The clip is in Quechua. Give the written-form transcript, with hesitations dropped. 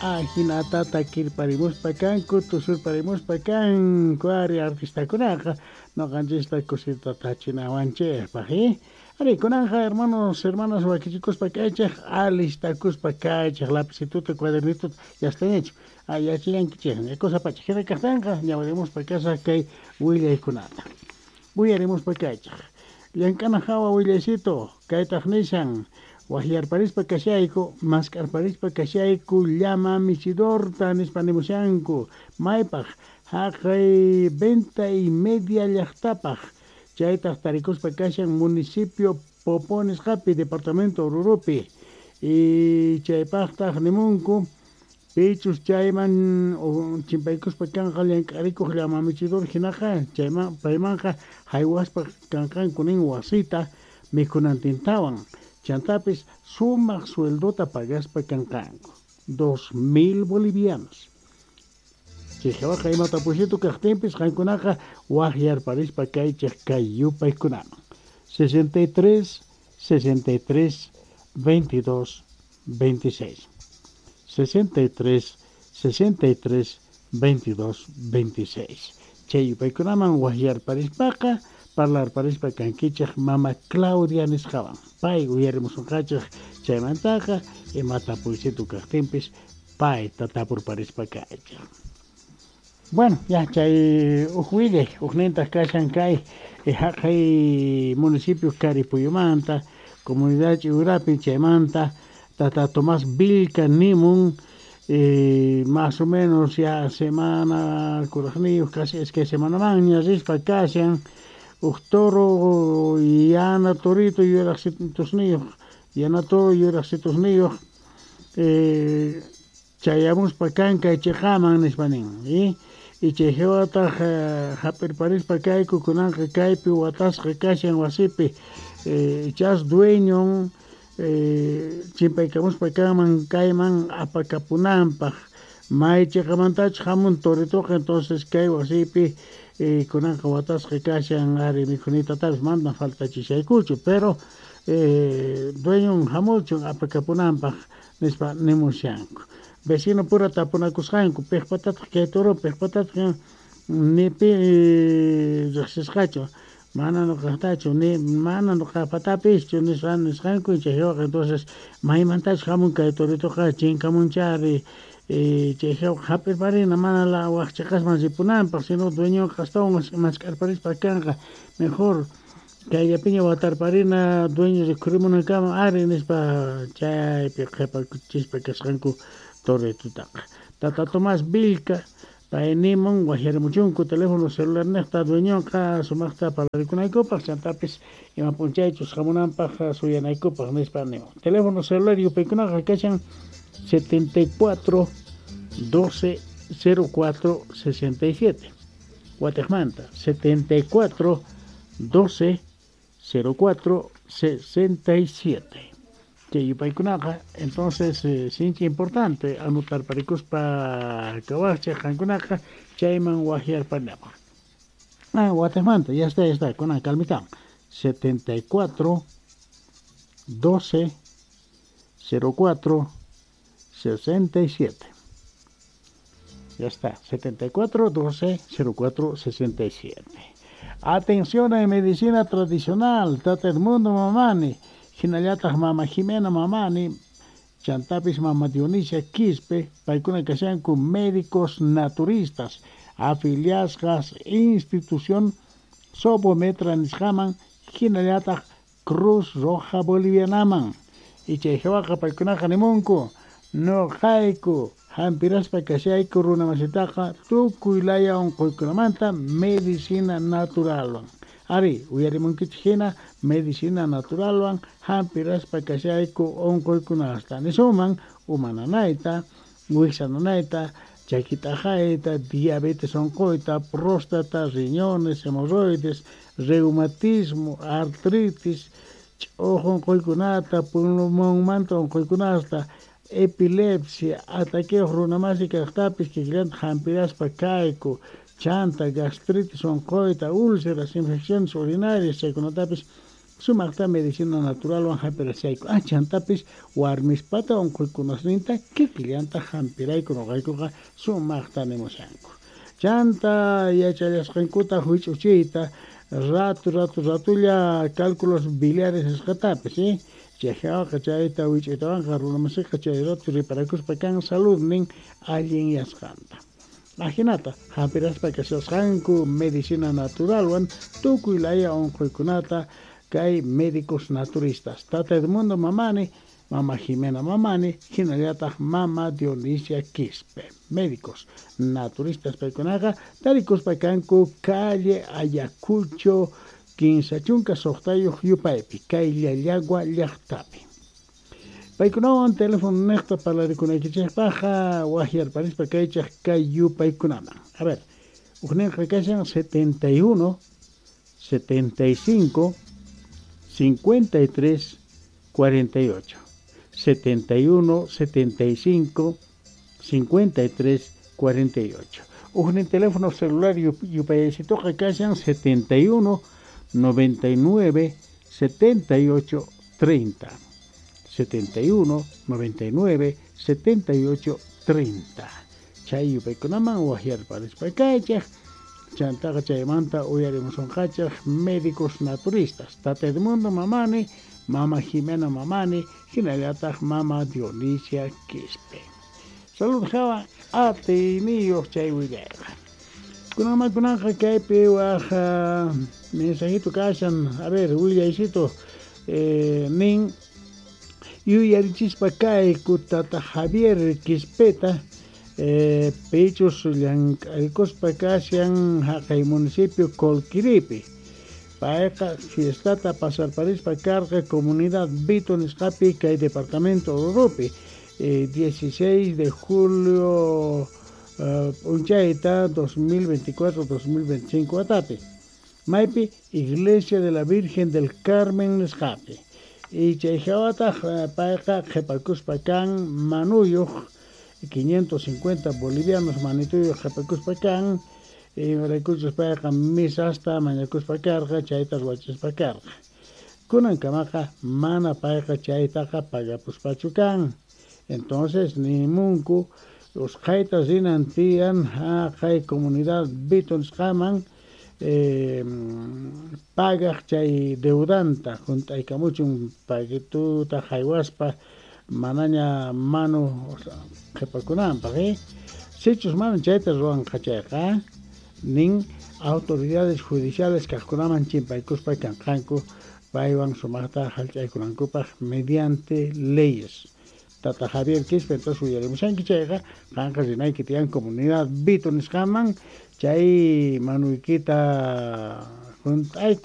Ajinata takirparimuspa kanku, tusurparimuspa kanku ari artistakunaqa noqanchista kusita tachinawanchikpaq, ¿eh? Ari, kunanja hermanos, hermanas wakichikuspa kaychik, alistakuspa kaychik, lapicituta, cuadernituta, ya está hecho. Yachallankichik, cosa pacha. Hina kaqtinqa ñawirimuspa kasaq kay willaykunata. Uyarimuspa kaychik. Llank'ana hawa willaycito, kaytaq nishan, waqyarparispa kashayku, mask'arparispa kashayku, llama michidorta nispa nimushanku, maypaq haqay Venta y Media llaqtapaq, chaytaq tarikuspa kashan municipio Popo nisqapi, departamento Oruropi, y chaypaqtaq nimunku, pichus chayman chimpaykuspa kanqa llank'arikuq llama michidor hinaqa, chayman paymanqa haywaspa kanqanku nin wasita mikhunantintawan, chantapis sumaq sueldota pagaspa kanqanku, 2000 bolivianos. Chay ima tapuysitu kaqtinpis qankunaqa waqyarparispa kaychik kay yupaykunaman. 63 63 22 26. 63 63 22 26. Chay yupaykunaman waqyarparispaqa parlarparispa kankichik mama Claudia nisqawan. Pay uyarimusunqachik chaymantaqa ima tapuysitu kaqtinpis payta tapurparispa kaychik. Bueno, ya chay uj willay, ujnintaq kashan kay haqay municipio Caripuyumanta, comunidad Chiurapi, chaymanta tata Tomás Vilca nimun, más o menos ya semana kuraqniyuq, casi es que semana manña rispa kashan, uj toro yana torito yuraqsitusniyuq, yana toro yuraqsitusniyuq, chayamuspa kankay chiqaman nispa nin, y chay hawataq hap'irparispa kayku kunanqa kaypi watasqa kashan wasipi, ichas dueñon chimpaykamuspa kanman kayman apakapunanpaq, may chiqamantachus hamun toritoqa, entonces kay wasipi kunanqa watasqa kashan ari mikhunitatapis mana faltachishaykuchu, pero dueñon hamuchun apakapunanpaq nispa nimushanku. Vecino pura tapunakusqanku, piqpatataq kay toro, piqpatataq ni pi riqsisqachu, mana nuqaqtachu, ni mana nuqapatapischu nisqa nisqanku, chay hawaqa entonces maymantachus hamun kay toritoqa chinkamunchari, chay hawaqa hap'irparina mana la waq chiqasman ripunanpaq, sino dueñonqa astawan mask'arparispa kanqa, mejor kayllapiña watarparina dueño rikhurimunankama ari nispa chaypi qhipakuchispa kasqanku toritutaqa. Tata Tomás Vilca pay nimun waqyarimuchunku teléfono celular niqta dueñonqa sumaqta parlarikunaykupaq, chantapis ima p'unchaychus hamunanpaq suyanaykupaq nispa nimun. Teléfono celular yupaykunaqa kashan 74 12 04 67. Watiqmanta 74 12 04 67. Chay yupaykunaqa entonces sinchi importante anotarparikuspa kawaqchik qankunaqa chayman waqyarparinapaq. Ah, watiqmanta, ya está, kunan kalmitan. 74 12 04 67. Ya está, 74 12 04 67. Atención en medicina tradicional, Tata Edmundo Mamani, hinallataq Mama Jimena Mamani, chantapis Mama Dionisia Quispe, paykuna kashanku médicos naturistas, afiliasqas institución Sobometra nisqaman, hinallataq Cruz Roja Bolivianaman. Y chay hawaqa paykunaqa nimunku, nuqayku hampiraspa kashayku runa masitaqa tukuy laya unquykunamanta medicina naturalwan. Ari, uyarimunkichik hina medicina naturalwan hampiraspa kashayku unquykunasta. Nisuman uma nanayta, wiksa nanayta, chaki t'aqayta, diabetes unquyta, próstata, riñones, hemorroides, reumatismo, artritis, ch'uq unquykunata, pulmonmanta unquykunasta, epilepsia, ataqueos runamasi kaqtapis kikillanta hampiraspa kayku, chanta, gastritis unquyta, úlceras, infecciones urinarias, chaykunatapis Sumaqta medicina naturalwan hampirashayku. Chantapis warmispata unquykunasninta kikillanta hampirayku nuqaykuqa sumaqta nimushanku. Chanta yachallasqankuta huch'uchiyta ratu ratu ratulla cálculos biliares nisqatapis, chayqa chayta wich'uytawanqa runamasiqa chay ratu riparakuspa kan saludnin allinyasqanta. Ajinata hampiraspa kashasqanku medicina naturalwan tukuy laya unquykunata kay médicos naturistas. Tata Edmundo Mamani, Mama Jimena Mamani, hinallataq Mama Dionisia Quispe. Médicos naturistas paykunaqa tarikuspa kanku calle Ayacucho 36 yupaypi, kay Llallagua llaqtapi. Paykunawan teléfono niqta parlarikunaykichikpaqqa waqyarparispa kaychaq kay yupaykunaman. A ver, hukninqa kashan 71 75 53 48. 71 75 53 48. Huknin teléfono celular yupaysituqa kashan 71 99 78 30. 71 99 78 30. Chay yupaykunaman waqyarparispa kaychaq. Chantaqa chaymanta uyarimusunqachaq médicos naturistas. Tata Edmundo Mamani, Mama Jimena Mamani, hinallataq Mama Dionisia Quispe. Salud hawa atiyniyuq chay willayqa. Kunanman kunanqa kaypi waq mensajito kashan, a ver, willaysito nin yuyarichispa kayku tata Javier Quispeta pichus llank'arikuspa kashan haqay municipio Colquiripi. Payqa fiestata pasarparispa karqa comunidad Vito nisqapi kay departamento Oruropi 16 de julio p'unchayta 2024-2025 watapi. Maypi Iglesia de la Virgen del Carmen nisqapi. Y chay hawataq payqa qhipakuspa kan manuyuq 550 bolivianos manituyuq qhipakuspa kan imaraykuchus payqa misasta mañakuspa karqa chayta ruwachispa karqa. Kunankamaqa mana payqa chaytaqa pagapuspachu kan. Entonces nimunku usqhayta rinan tiyan haqay comunidad Vito nisqaman pagaq chay deudanta hunt'aykamuchun paguituta haywaspa manaña manu qhipakunanpaq. Sichus mana chayta ruwanqa chayqa nin autoridades judiciales kaqkunaman chimpaykuspa kanqanku paywan sumaqta hallch'aykunankupaq mediante leyes. Tata Javier Quispe, entonces uyarimushanki chayqa qanqa rinayki tiyan comunidad Vito nisqaman chay manuykita hunt'ayku.